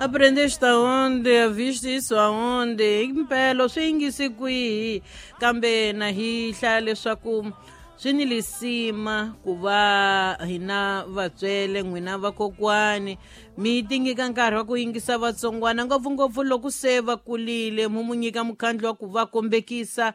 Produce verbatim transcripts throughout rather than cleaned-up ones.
Aprendeste aonde? Viste isso aonde? Impela swi yingisi kwihi? Kambe na hi hlaya leswaku swi ni lisima ku va hina vatswele n'wina vakokwani mi tinyika nkarhi wa ku yingisa vatsongwana ngopfungopfu loko se va kulile mu mu nyika mukhandlu wa ku va kombekisa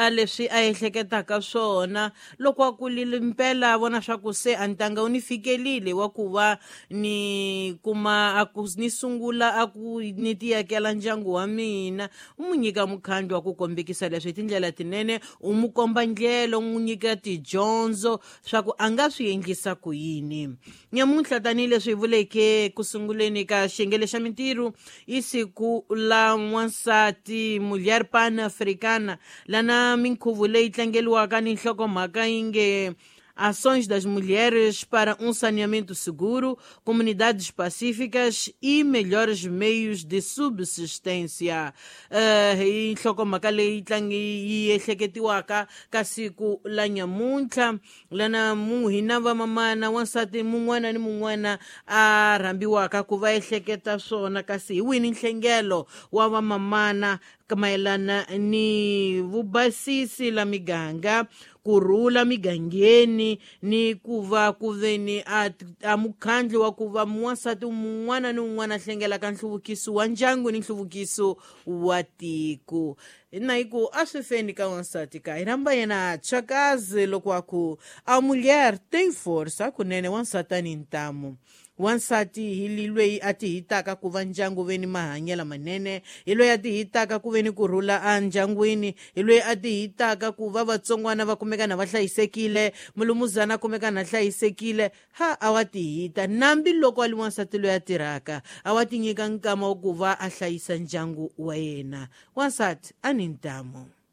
leswi a ehleketaka swona loko a kulile mpela a vona swa ku se a ntanga wu ni fikelile wa ku va ni kuma a ku ni sungula a ku ni tiyakela ndyangu wa mina u mu nyika mukhandlu wa ku kombekisa leswi hi tindlela tinene u mu komba ndlela u n'wi nyika tidyondzo swa ku a nga swi endlisa ku yini. Nyamuntlha tanihileswi hi vuleke ku sunguleni ka xiyenge xa mintirho i siku la n'wansati Mulher Pan-Africana lana minkhuvo leyi tlangeliwaka ni nhlokomhaka yi nge Ações das Mulheres para um Saneamento Seguro, Comunidades Pacíficas e Melhores Meios de Subsistência. Uh, hi nhlokomhaka leyi tlangi yi ehleketiwaka ka siku la nyamuntlha lana mu hina vamamana wansati mun'wana ni mun'wana a rhambiwaka ku va ehleketa swona kasi hi wini nhlengelo wa vamamana mayelana ni vubasisi la miganga ku rhula migangeni ni ku va ku veni a, a mukhandlu wa ku va wansati mun'wana ni un'wana a hlengelaka nhluvukiso wa ndyangu ni nhluvukiso wa tiko. Na hi ku a swi feni ka wansati ka hi rhamba yena tshakazi loko a ku a mulher tem força kunene wansati a ni ntamu. Wansati hi loyi a ti hitaka ku va ndyangu veni mahanyelo manene hi loyi a ti hitaka ku veni ku rhula endyangwini hi loyi a ti hitaka ku va vatsongwana va kumeka na va hlayisekile mulumuzana a kumeka na hlayisekile ha a wa ti hita nambi loko a li wansati loyi a tirhaka a wa ti nyika nkama wa ku va a hlayisa ndyangu wa yena. Wansati a ni ntamu.